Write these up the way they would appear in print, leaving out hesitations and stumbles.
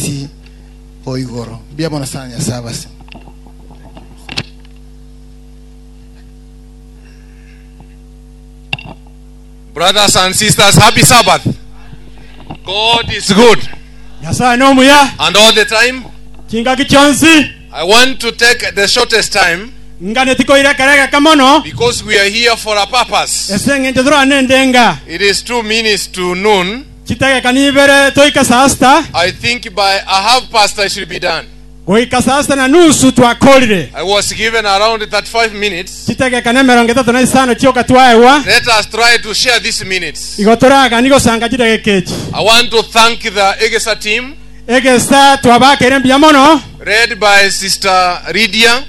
Kisii o igoro. Mbuya mono sana Nyasae abase. Brothers and sisters, happy Sabbath. God is good. Nyasae nomuya And all the time, chingaki chionsi. I want to take the shortest time Nganeti koira ekero egeke mono, because we are here for a purpose. ase engencho torane endenga. It is 2 minutes to noon. Chidageka nibere toike saa sita. I think by a half past I should be done. Goika saa sita na nusu twakorire. I was given around 35 minutes. Chidageka nemerongo etato na isano chioka twaegwa. Let us try to share these minutes. Igo toragani gosanga chidageka echi. I want to thank the Egesa team, Egesa twabakeire mbuya mono. led by Sister Lydia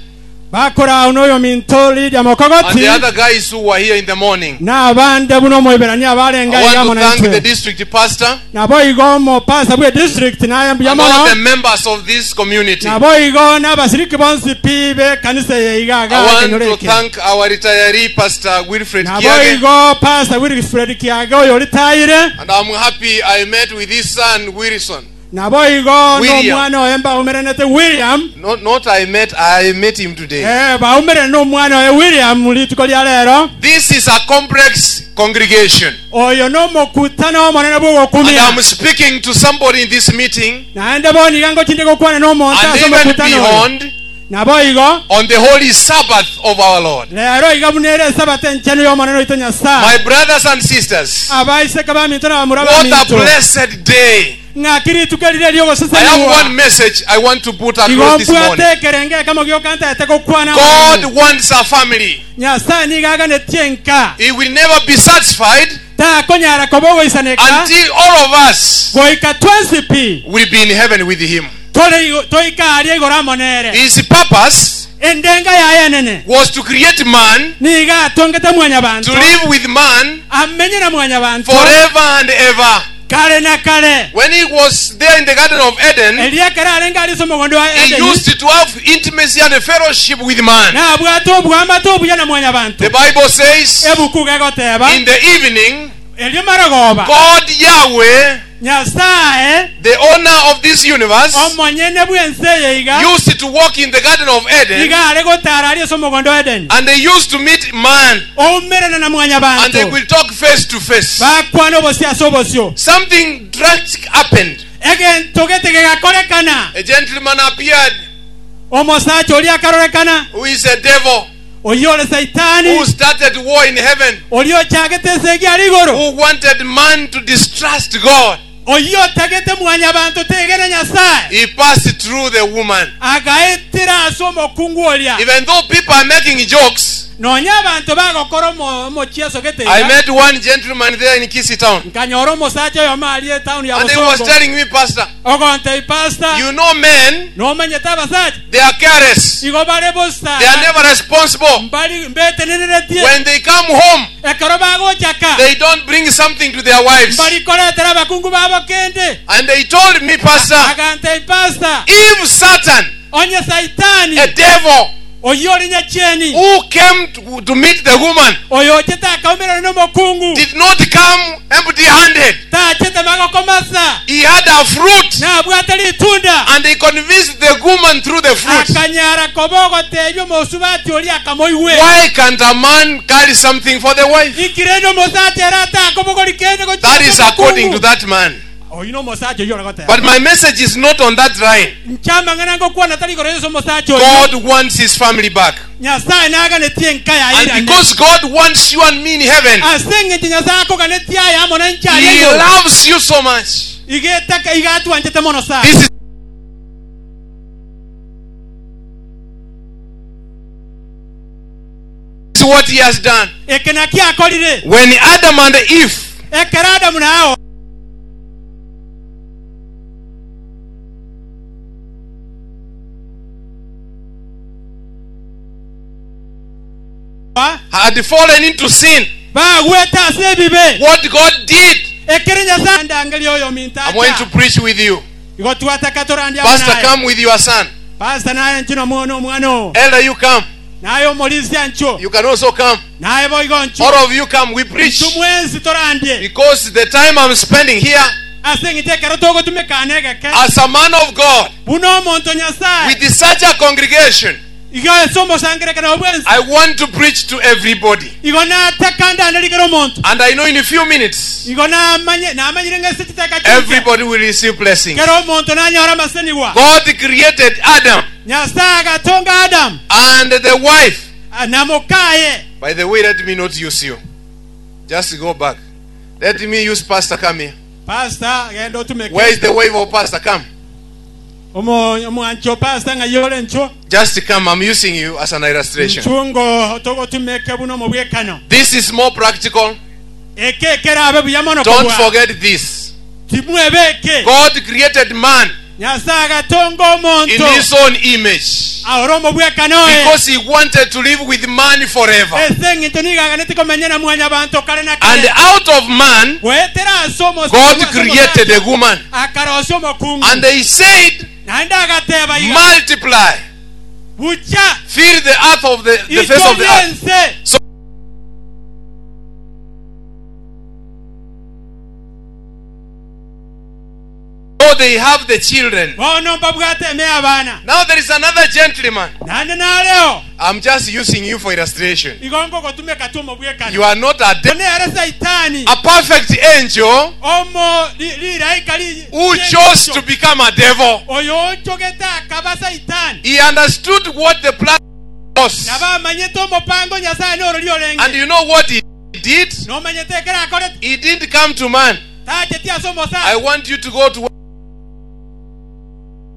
Bakorao noyominto Lydia and Mokogoti the other guys who were here in the morning. na abande buna omoiberania abarenge I aiga want amo to thank the naintwe. district pastor Naboigo omopasa bwe district naye mbuya and all mono. the members of this community. I Naboigo n'abasiriki bonsi pi b'ekanisa eye iga iga want ekenyoro to eke. thank our retiree pastor Wilfred Kiage. Naboigo Pastor Wilfred Kiage oyo oritayire. And I'm happy I met with his son Wilson. Naboigo William. nomwana oye mbaumeranete William. Not, not I met, I met him today. Eh, baumerane nomwana oye William rituko ria rero. This is a complex congregation. Oyo nomokutano omonene And bw'ogokumia. I'm speaking to somebody in this meeting Naende bono iga ngochinde gokwana nomonto and ase even omokutano oyo. beyond Naboigo on the holy Sabbath of our Lord. rero iga buna ere esabato enchenu y'omonene oito Nyasaye. My brothers and sisters, Abaiseke baminto na bamura what a baminto. blessed day. Ng'aki rituko erire I have riogosesenigwa. one message I want to put Igo across this mbwate morning. ekerenge ekemo giokantaete gokwana God amang'ana. wants a family. Nyasaye nigo aganetie enka. He will never be satisfied Takonyara koba ogoisaneka until all of us goika twensi pi will be in heaven with him. tore igo- toika aria igoro amo nere. His purpose Endenga yaye enene was to create man, nigo atongete mwanyabanto to live with man amenye na mwanyabanto forever and ever. kare na kare. When he was there in the Garden of Eden, Eria ekero arenge aria ase omogondo wa he Edeni used to have intimacy and fellowship with man. nabwate obwamate obuya na mwanyabanto. The Bible says Ebuku gegoteba in the evening, erio marogoba God Yahweh, Nyasaye the owner of this universe, omonyene bw'ense eye iga used to walk in the Garden of Eden iga are gotara aria ase omogondo wa Edeni and they used to meet man oumerane na and they mwanyabanto will talk face to face. bakwana obosio ase obosio. Something drastic happened. Egento gete gegakorekana. A gentleman appeared Omosacha oria akarorekana who is a devil oyio ore Saitani who started war in heaven, oria ochagete esegi aria igoro who wanted man to distrust God. oyio otagete mwanyabanto tegene Nyasaye He passed through the woman. agaetera ase omokungu oria. Even though people are making jokes, Nonya abanto bagokora omo- omochieso gete I iga met one gentleman there in Kisii town. nkanyora omosacha oyomo aria etown ya And he was Bosongo telling me, Pastor, ogontebia pastor you know men, nomanyete abasacha they are careless. igo bare bosa They are never responsible. mbari mbetenereretie When they come home, ekero bagochaka they don't bring something to their wives. mbarikoretera abakungu babo kende. And they told me, Pastor, Agantebia pastor if Satan, onye Saitani a devil, oyio ore nyachieni who came to meet the woman, oyo ochete akaumerana nomokungu did not come empty handed, tachete magokomasa he had a fruit nabwate ritunda and he convinced the woman through the fruit. akanyara koba ogotebia omosubati oria akamoigwera. Why can't a man carry something for the wife? Ikirende omosacha ere atakobogori kende gochia That is ase according omokungu. to that man. Oyo nomosacha oyio ore goteba. But my message is not on that line. Nchamang'ana ngokwana tari igoro ase omosacha oyo. God wants his family back. Nyasaye naganetie enka yaye And irane. because God wants you and me in heaven, Ase eng'encho Nyasaye akoganetie aye amo na inche aria he igoro. loves you so much. Igetaka igatwanchete mono sana. This is what he has done. Eke naki akorire. When Adam and Eve Ekero Adamu na Hawa had fallen into sin, bagwete ase ebibe what God did, ekere Nyasaye ndangeria oyo minto I'm going to acha preach with you. igo twataka torandia amo Pastor, naye. come with your son. Pastor naye nchino mwono omwana oo. Elder, you come. Naye omorisia ncho. You can also come. Naye boigo ncho. All of you come. We preach. Tumwensi torandie. Because the time I'm spending here Ase eng'encho ekero togotumeka negeke. As a man of God, Buna omonto Nyasae. with such a congregation, Igo ase omosangererekano bwensi. I want to preach to everybody. Igo nataka ndanderie kera omonto. And I know in a few minutes, Igo namanye, namanyire ng'a ase chidakika chinke, everybody will receive blessings. kera omonto nanyore amasenigwa. God created Adam Nyasae agatonga Adamu and the wife. na mokaye. By the way, let me not use you. Just go back. Let me use Pastor. Come here. Pastor, genda otumeke. Where is the wife of Pastor? Come. Omo- Omwanchi o pastor ng'ai ore nchwo? Just come. I'm using you as an illustration. Nchwo ngo togotumeke buna omobwekano. This is more practical. Eke ekerabe buya mono Don't kobua. forget this. Timwebe eke. God created man Nyasae agatonga in omonto his own image aore omobwekano oye. because he wanted to live with man forever. Ase eng'encho nigo aganeti komenya na mwanyabanto kare na And kare. out of man, Goetera ase omosa- God ase created omosacha, a woman. akarosia omokungu. And he said, Naende agateba iga, Multiply, bucha fill the earth of the face of the ichorie earth. ense. So they have the children. Bono mbabwate eme abana. Now there is another gentleman. Naende nareo I'm just using you for illustration. igo ngogotumeka tu omobwekano. You are not a, One ere Saitani a perfect angel omo ri- riraika ri- who chose to become a devil. oyo onchogete akaba Saitani. He understood what the plan was. Nabo amanyete omopango Nyasaye norori And orenge. you know what he did? Nomanyete ekero akorete He didn't come to man. tacheti ase I omosacha. want you to go to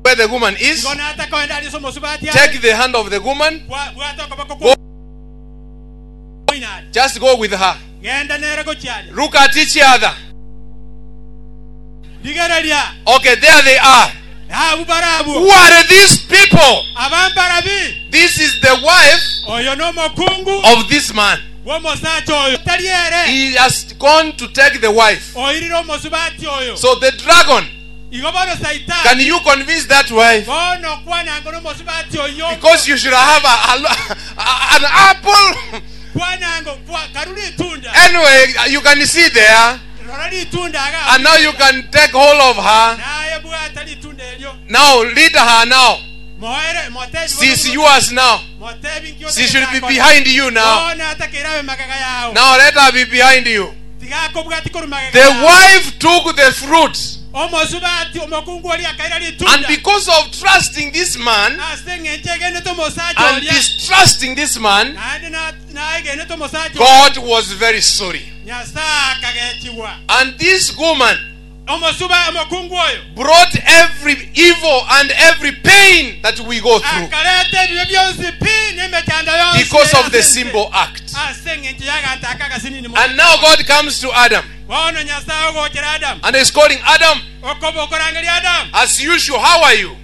where the woman is. Igo natakoenda aria ase omosubati Take the hand of the woman. Bwata okoboko Go. kwa Just go with her. Genda nere gochiaria. Look at each other. Rigereria. Okay, there they are. Abu barabu. Who are these people? Abambarabi. This is the wife Oyo nomokungu of this man. bw'omosacha oyo. Tari ere. He has gone to take the wife. Oirire omosubati oyo. So the dragon, Igo bono Saitani. can you convince that wife? Bono kwananga n'omosubati oyo. Because you should have an apple. Kwananga kwa karuri itunda. Anyway, you can see there. Rora ritunda aga. And now you can take hold of her. Naye bwata ritunda eryo. Now lead her now. Moere motebi. She's yours now. Motebi nkio. She should be behind you now. Bono atakerabe magaga yao. Now let her be behind you. Tigakobwati koru magaga. The wife took the fruit. Omosubati omokungu oria akaira ritunda. And because of trusting this man Ase eng'encho egenete omosacha and oria. distrusting this man, Naende na- naegenete omosacha oria. God was very sorry. Nyasaye akagechigwa. And this woman Omosuba omokungu oyo brought every evil and every pain that we go through akareta ebibe byonsi pi n'emechando yonsi because of the ase ense. simple act. Ase eng'encho y'aganto aka agasinini mono. And now God comes to Adam Bono Nyasaye ogochera Adamu. and is calling Adam, Okoba okorangeria Adamu. as usual, how are you?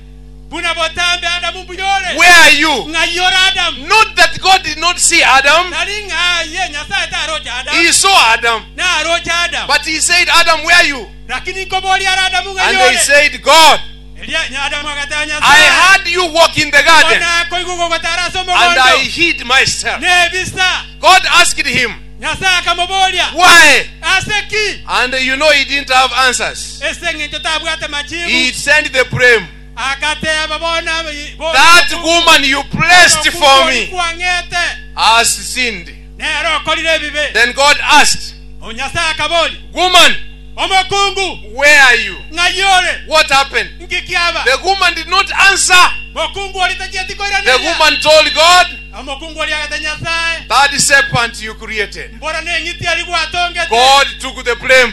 Buna botambe Adamu mbuyore. Where are you? Ng'ai ore Adamu. Not that God did not see Adam, Tari ng'aye Nyasaye taroche Adamu. He saw Adam. Naroche Adamu. But He said, Adam, where are you? Lakini nkoboria ara Adamu ng'ai And they ore. said, God, Eria Adamu agateba I Nyasaye. heard you walk in the garden Bona koigwa gogotara ase and I omogondo. hid myself. Nebisa. God asked him, Nyasaye akamoboria. Why? Ase ki? And you know he didn't have answers. Ase eng'encho tabwate He machibu. sent the blame. Akateba bona bona- That woman you placed for me Kwang'ete. has sinned. Nero okorire ebibe. Then God asked, Nyasaye akaboria. Woman, Omokungu where are you? ng'ai ore? What happened? Nkikiaba. The woman did not answer. Mokungu ori tachieti The koiraneria. woman told God, Omokungu ori agate Nyasaye. That serpent you created. Mbora neng'iti eri gwatongete. God took the blame.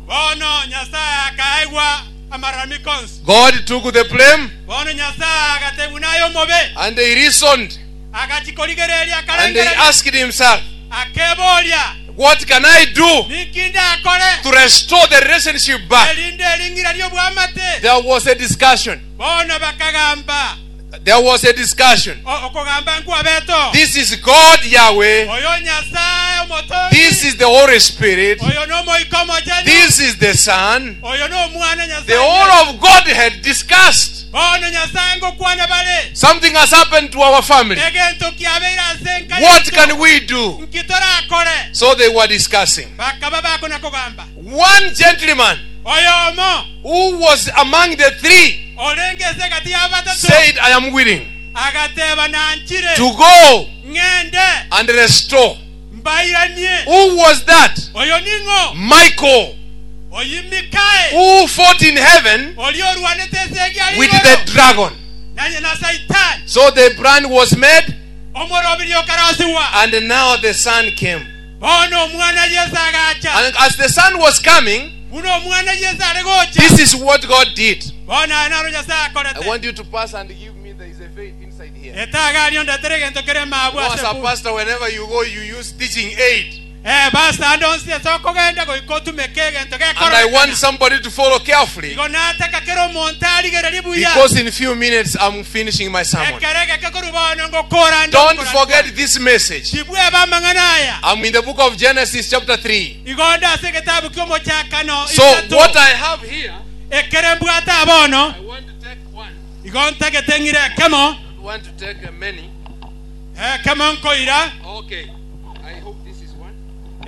Bono Nyasaye akaegwa amararamiko onsi. God took the blame Bono Nyasaye agatebwa naye omobe. and he reasoned Agachikorigereria and he akarengereria. asked himself, Akeboria. What can I do Ninki ndakore. to restore the relationship back? Erinde eringira ri'obwamate. There was a discussion. Bono bakagamba. There was a discussion. O- Okogamba nkwabeto. This is God Yahweh. Oyo Nyasaye omotongi. This is the Holy Spirit. Oyo n'omoika omochenu. This is the Son. Oyo n'omwana Nyasaye. The whole of God had discussed. Bono Nyasaye ngokwana bare. Something has happened to our family. Egento kiabeire ase enka What yaito. can we do? Nki torakore. So they were discussing. Bakaba bakona kogamba. One gentleman, Oyomo who was among the three orenge ase egati ya batato said, I am willing agateba nanchire to go ng'ende and restore. mbairanie. Who was that? Oyo ning'o? Michael, Oyi Mikael who fought in heaven oria orwanete ase egiari with igoro the dragon. na na Saitani. So the brand was made, Omorobiri okarosiwa and now the son came. bono omwana Yesu agacha. And as the son was coming, Buna omwana Yesu are gocha this is what God did. bono aya naro Nyasaye I akorete. want you to pass and give me there is a faith inside here. Etagario ndetere egento kere mabwo You know, ase as a pu- pastor, whenever you go, you use teaching aid. Eh, basa ande onsi ase okogenda goika otumeke egento And I want gekororekana. somebody to follow carefully Igo nataka kera omonto arigererie buya because in few minutes I'm finishing my sermon. ekero egeke korwa bono ngokora nde Don't okora forget this message. tibweba amang'ana aya I'm in the book of Genesis, chapter 3. igo nde ase egetabu kia omochakano So, isato. what I have here, ekere mbwate abono I want to take one, igo ntagete ng'ire ekemo I don't want to take many. ekemo nkoira Okay, I hope this is one.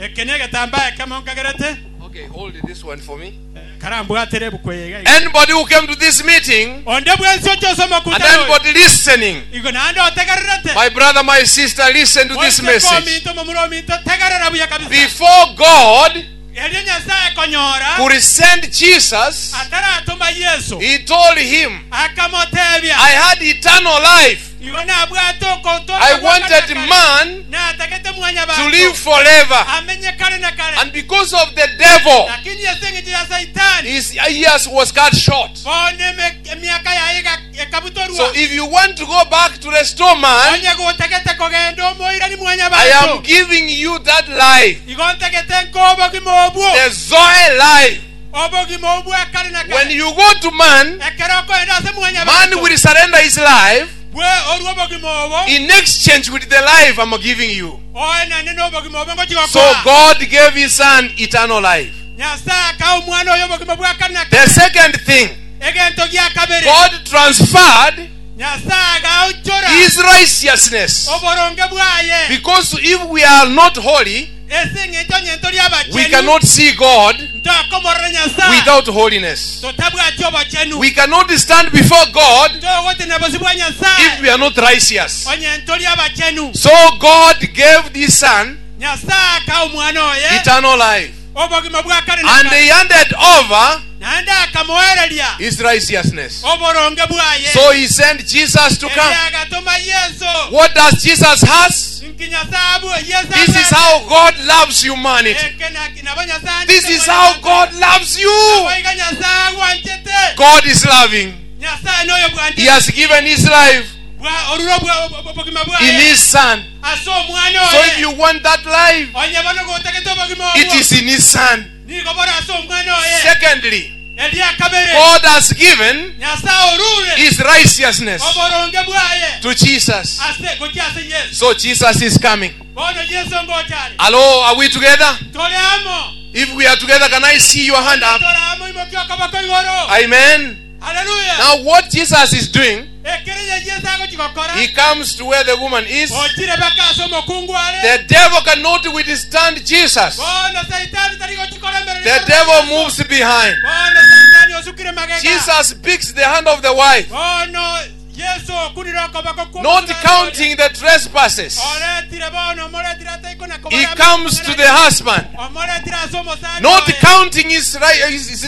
eke na egetambaa ekemo nkagerete Okay, hold this one for me. karambwatere ebuku eye iga iga. Anybody who came to this meeting onde bwensi oche and omokutano oyo anybody listening, igo naende otegererete my brother, my sister, listen to this Oiseke message. ominto momura ominto tegerera buya kabisa Before God erio Nyasaye konyora could send Jesus, ataratuma Yesu He told him, akamotebia I had eternal life. igo nabwate okotoka I wanted man natagete mwanya to live forever. amenye kare na kare And because of the devil, lakini ase eng'encho ya Saitani his years was cut short. bono emiaka yaye ekabutorwa So if you want to go back to restore man, onye gotagete kogenda omoirani mwanya I am banto giving you that life, igo ntagete nk'obogima obwo the Zoe life. obogima obwo akare na When kare you go to man, ekero okoenda ase mwanya man banto will surrender his life bwe orwo obogima obo in exchange with the life I'm giving you. oenane n'obogima obo So ngochigokoa God gave his son eternal life. Nyasaye aka omwana oyo obogima bwa kare na The kare second thing, egento gia kabere God transferred Nyasaye agaochora his righteousness. oboronge bwaye Because if we are not holy, ase eng'encho nyento ria we abachenu cannot see God ntokomorora Nyasaye without holiness. totabwati obochenu We cannot stand before God togotena bosi bwa if Nyasaye we are not righteous. onye ntori abachenu So God gave this son Nyasaye aka omwana oye eternal life. obogima bwa kare na And kare he handed over naende akamoereria his righteousness. oboronge bwaye So he sent Jesus to Eri come. agatuma Yesu What does Jesus has? nki Nyasaye abu Yesu This is abwate. how God loves humanity. Eke nabo Nyasaye This andete is how mwana God loves you. Aboiga Nyasaye agwanchete God is loving. Nyasaye noyo He bwanchete has given his life Bwa- oruro bwa obogima in bwaye his son. ase omwana So if oye you want that life, onye bono gotagete obogima it obwo is in his son. nigo bora ase omwana oye Secondly, eria kabere God has given Nyasaye orure his righteousness oboronge bwaye to Jesus. ase gochia ase Yesu So Jesus is coming. bono Yesu ngochare Hello, are we together? tore amo If we are together, can I see your hand up? tore amo imokia okoboko igoro Amen. haleluya Now, what Jesus is doing, ekere ye Yesu agochigokora he comes to where the woman is. ochire baka ase omokungu are The devil cannot withstand Jesus. bono Saitani tari gochikora embere The devil moves behind. bono Saitani osukire magega Jesus picks the hand of the wife, bono Yesu okunire okoboko kwa not counting the trespasses. oretire bono omoretire ataiko na He comes to the husband, omoretire ase omosacha not oye. counting his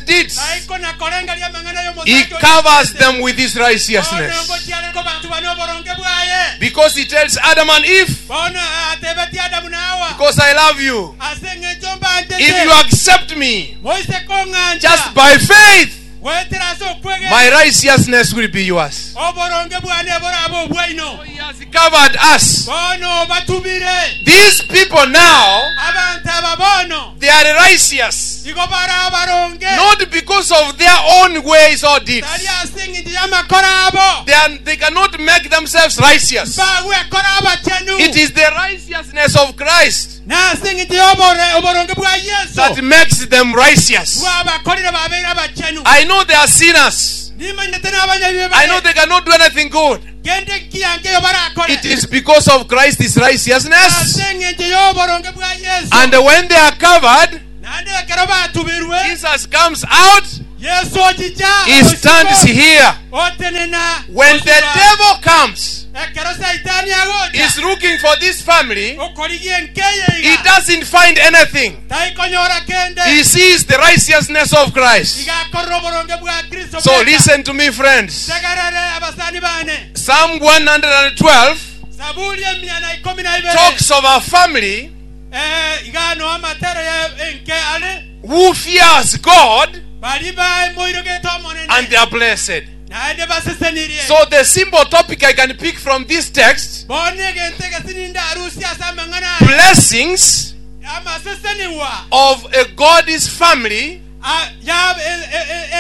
deeds. Taiko na korenga amang'ana y'omosacha He oyo. covers them with his Bono righteousness. ngochiareko bantu bane oboronge bwaye Because he tells Adam and Eve, bono atebetie Adamu na Hawa Because I love you. ase eng'encho mbanchete If you accept me moise kong'ancha just by faith, gwetera ase okwegena my righteousness will be yours. oboronge bwane boraba obwaino He has covered us. bono obatumire These people now, abantu aba bono they are righteous. igo bara abaronge Not because of their own ways or deeds. tari ase eng'encho y'amakora abo They cannot make themselves righteous. bagwekora abachenu It is the righteousness of Christ nase eng'encho y'oboronge bwa that Yesu makes them righteous. bwabakorire babeire abachenu I know they are sinners. nimanyete n'abanyabibe I know bare they cannot do anything good. gende nkiyange barakore It is because of Christ's righteousness. ase eng'encho y'oboronge bwa Yesu And when they are covered, Naende ekero batubirwe, Jesus comes out, Yeso ochicha he stands osiko, here. otenena When the osiko. devil comes, Ekero Saitani agocha he's looking for this family, okorigia enkeye he iga doesn't find anything. taikonyora kende He sees the righteousness of Christ. iga akorera oboronge bwa Kristo So bweka. listen to me, friends. Tegerere abasani bane Psalm 112 Zaburi emia na ikomi na ibere talks of a family eh, iga no amatero ya enke are who fears God bari bamoirogete omonene and they are blessed. naende basesenirie So the simple topic I can pick from this text bono egento egesininde arusia ase amang'ana aya blessings amaseseniwa of a God's family a- ya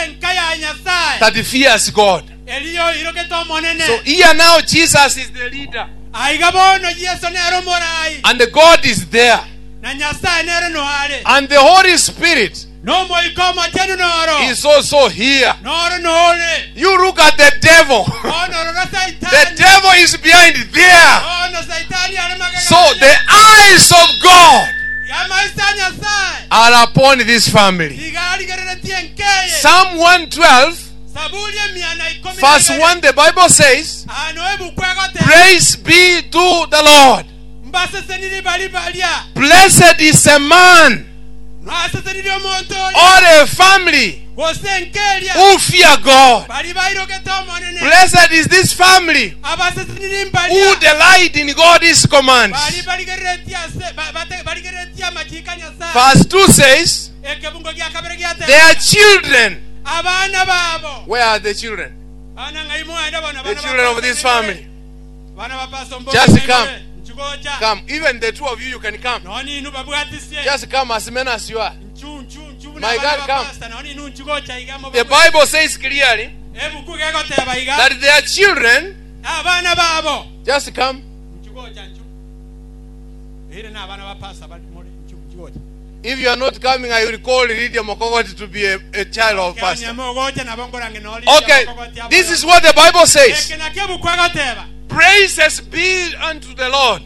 enka ya Nyasaye that fears God. eriyo irogete omonene So here now Jesus is the leader aiga bono Yeso nere omorai and the God is there na Nyasaye nere noare and the Holy Spirit nomoika omochenu noro is also here. noro nore You look at the devil. bono rora The Saitani devil is behind there. bono Saitani are magega So the eyes of God yamaisa Nyasaye are upon this family. iga arigereretie enkeye Psalm 112, Zaburi emia na ikomi na verse ibere. 1, the Bible says, ano ebuku egoteba Praise be to the Lord. mbaseseniri bari baria Blessed is a man nwaseseniri omonto oria or a family gose enkeria who fear God. bari bairogete omonene Blessed is this family abaseseniri who mbaria delight in God's commands. bari barigereretie ase barigereretie amachika Nyasaye Verse 2 says, ekebungo gia kabere giateba Their children. abana babo Where are the children? bana ng'ai mwenda bono The bana children of this family. bana ba Pastor Mbogo Just ng'ai come. more. Nchugocha. Come. Even the two of you, you can come. noni inu babwatisie Just come as many as you are. nchu nchu nchu buna My bana God, ba come. pastor, noni inu nchugocha iga mo The Bible says clearly ebuku gegoteba iga that their children abana babo just come. nchugocha nchu ire na abana ba pastor bali muri nchu nchugocha If you are not coming, I will call Lydia Mokogoti to be a child of pastor. Kenya mogocha nabo ngorange no Okay, this is what the Bible says. eke nakio ebuku egoteba Praises be unto the Lord.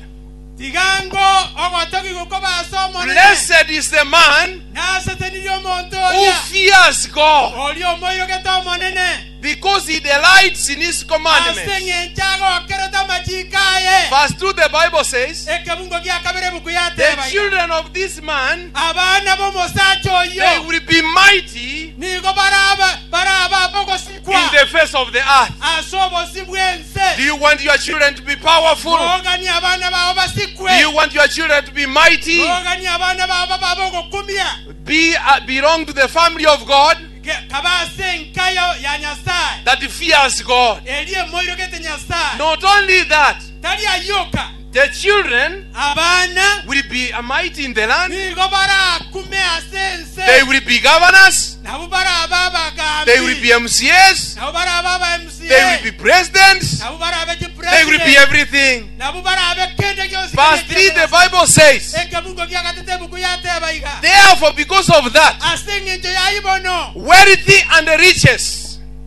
tigango ogotogi gokobasa omonene Blessed is the man nasesenirie omonto who oria fears God oria omoirogete omonene because he delights in his ase commandments. eng'encho agokerete amachiko aye Verse 2, the Bible says, ekebungo gia kabere ebuku The yateba iga. children of this man, abana b'omosacha they oyo will be mighty nigo baraba baraba bogosikwa in the face of the earth. ase obosi Do bw'ense you want your children to be powerful? bogani abana babo Do basikwe you want your children to be mighty? bogani abana babo baba ogokumia Be belong to the family of God kaba ase enka ya Nyasaye that fears God. eri emoirogete Nyasaye Not only that, tari ayoka the children abana will be mighty in the land. nigo barakume ase ense They will be governors. nabo baraba abagambi They will be MCAs. nabo baraba aba MCA They will be presidents. nabo barabe They will be chipresident everything. nabo barabe kende gionsi Verse 3, the Bible says, ekebungo gia gatete ebuku yateba iga Therefore, because of that, ase eng'encho yaibono wealthy and riches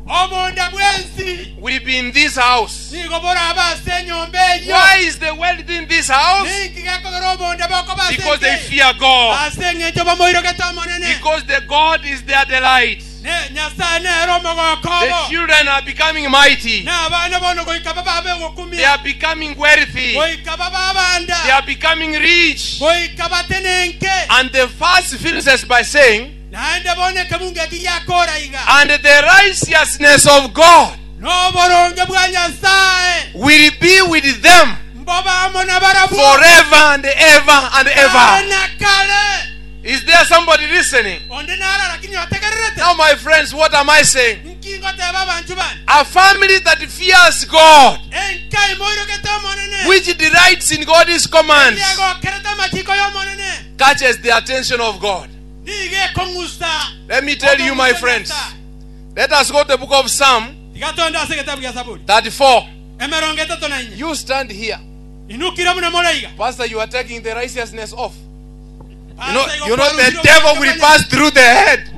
obonda bwensi will be in this house. nigo boraba ase enyomba eyo Why is the wealth in this house? ninki gekogera obonda bokoba ase Because they enke? fear God. ase eng'encho bamoirogete omonene Because the God is their delight. Ne- Nyasaye nere omogoko The obo children are becoming mighty. n'abaana bono goika bababe They ogokumia are becoming wealthy. goika bababanda They are becoming rich. goika batenenke And the verse finishes by saying, naende bono ekebungo eki giakora iga And the righteousness of God n'oboronge bwa Nyasaye will be with them mbobamo na barabwo forever and ever and kare ever. na kare Is there somebody listening? onde nara lakini otegererete Now, my friends, what am I saying? nkingo teba abantu bane A family that fears God, enka imoirogete omonene which delights in God's commands, egokerete amachiko y'omonene catches the attention of God. niga ekong'usa Let me tell you, my friends, let us go to the book of Psalm tigatonda ase egetabu gia Zaburi 34. emerongo etato na inya You stand here. inukire muna moraiga Pastor, you are taking the righteousness off. You know, the devil will pass through the head.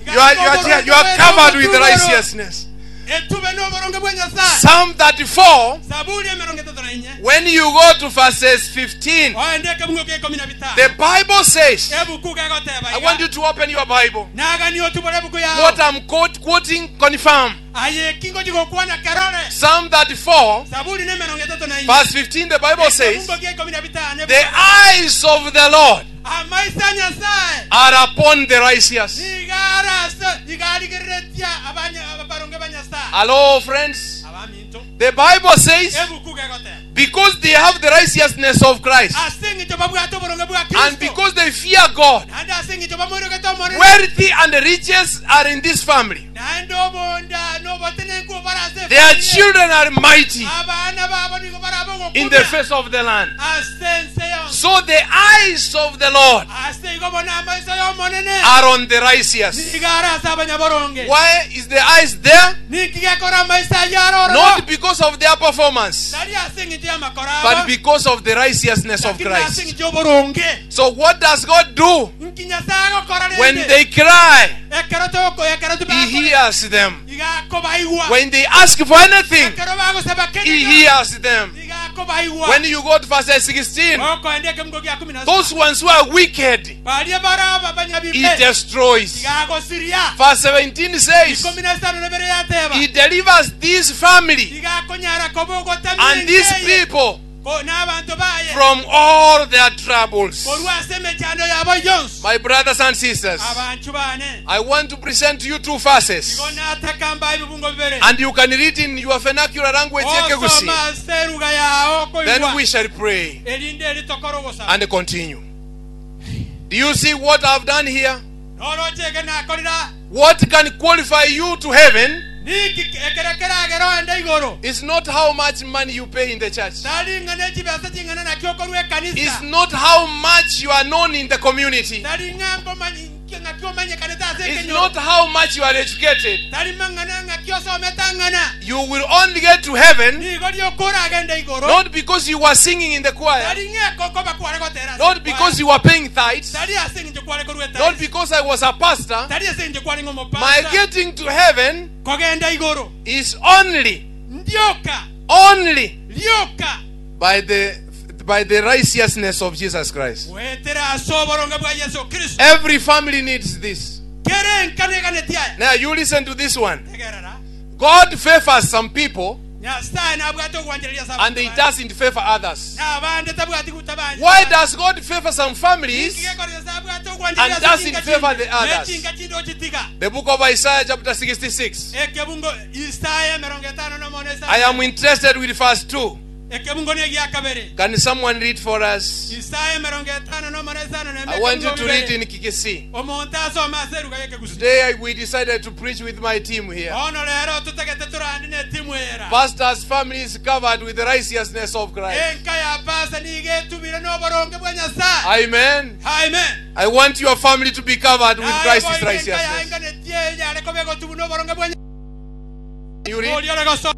You are covered with righteousness. etube n'oboronge bwa Nyasaye Psalm 34, Zaburi emerongo etato na inya When you go to verses 15, Oende ekebungo kia ikomi na bitano. the Bible says, Ebuku gegoteba I want you to open your Bible. Nagani otubore ebuku yao. What I'm quoting, confirm. Aye kingo jigokwana kerore. Psalm 34, Saburi ne emerongo etato na ine. verse 15, the Bible says, Ekebungo kia ikomi na bitano. The eyes of the Lord Amaiso a Nyasae are upon the righteous. nigo arase iga arigereretie abanya- abaronge ba Nyasae. Hello, friends. Abaminto. The Bible says, Ebuku gegoteba. because they have the righteousness of Christ Ase eng'encho babwate oboronge bwa and Kristo. because they fear God, Naende ase eng'encho bamoirogete Omonene. wealthy and riches are in this family. Naende obonda nobotenenku obare ase Their efamiri. children are mighty Abana babo nigo barabe in the ogokumia. face of the land. Ase ense yonsi. So the eyes of the Lord Ase igo bono amaiso y'Omonene. are on the righteous. Nigo are ase abanyaboronge. Why is the eyes there? Ninki gekora amaiso ayio are ororo? Not because of their performance, Tari ase eng'encho y'amakoro but abo. because of the righteousness of Lakini ase Christ. eng'encho y'oboronge. So what does God do? Nki Nyasaye agokora When rende? they cry, Ekero toko- ekero He tibakore- hears them. iga akobaigwa. When they ask for anything, Ekero bagosaba He kende hears them. iga akobaigwa. When you go to verse 16, Okoenda ekemungo gia kumi na those ones who are wicked, baria baraba He abanyabibe destroys. iga agosiria. Verse 17 says, Ikomi na isano na ibere yateba. He delivers this family Iga akonyara koba ogotamia and these engeye. people Ko- n'abantu baye from all their troubles. korwa ase emechando yabo yonsi. My brothers and sisters, Abanchu bane I want to present to you two verses. igo natakamba ebibungo bibere. And you can read in your vernacular language, Ekegusii. Osoma ase eruga yao Then koigwa. we shall pray Erinde eritokora ogosaba. and continue. Do you see what I've done here? Noroche eke nakorera What can qualify you to heaven niki ekero keragera oende igoro. is not how much money you pay in the church. Tari ng'ana echibesa ching'ana nakio okorwa It's ekanisa. not how much you are known in the community. Tari ng'a nkomanyi- ng'aki omanyekanete ase It's ekenyoro. not how much you are educated. Tari mang'ana ng'aki osomete ang'ana. You will only get to heaven Nigo rioka oragende igoro. not because you were singing in the choir, Tari ng'a kokoba kware gotera ase not ekwaya. because you were paying tithes, Tari ase eng'encho kware korwa not etari. because I was a pastor. Tari ase eng'encho kware My ng'omopasta. getting to heaven Kogenda igoro. is only, Ndioka. only Rioka. by the righteousness of Jesus Christ. Goetera ase oboronge bwa Yeso Kristo. Every family needs this. Kere enkaneganeti aya. Now you listen to this one. Tegerera. God favors some people Nyasaye nabwate ogwanchereria ase and he abanto baye. doesn't favor others. N'abande tabwati gutabanja. Why does God favor some families? Ninki gekora Nyasaye abwate ogwanchereria And ase doesn't chinka favor chinde? the others? Nechinka chinde ochitiga. The book of Isaiah, chapter 66. Ekebungo Isaya emerongo etano na mono I am interested with verse 2. Ekebungo ne gia kabere. Can someone read for us? Isaya emerongo etano na mono isano na I want you ekebungo to read bibere. in Kikisi. Omonto asome ase eruga y'ekegusii. Today we decided to preach with my team here. Bono rero totagete torandi ne timu era. Pastor's family is covered with the righteousness of Christ. Enka ya pasa nigo etubire n'oboronge bwa Nyasaye. Amen. Amen. I want your family to be covered with Naye Christ's boigo enka righteousness. yaenganetie enyare koba egotubu n'oboronge bwa Nyasaye. You read? Oria ore goso-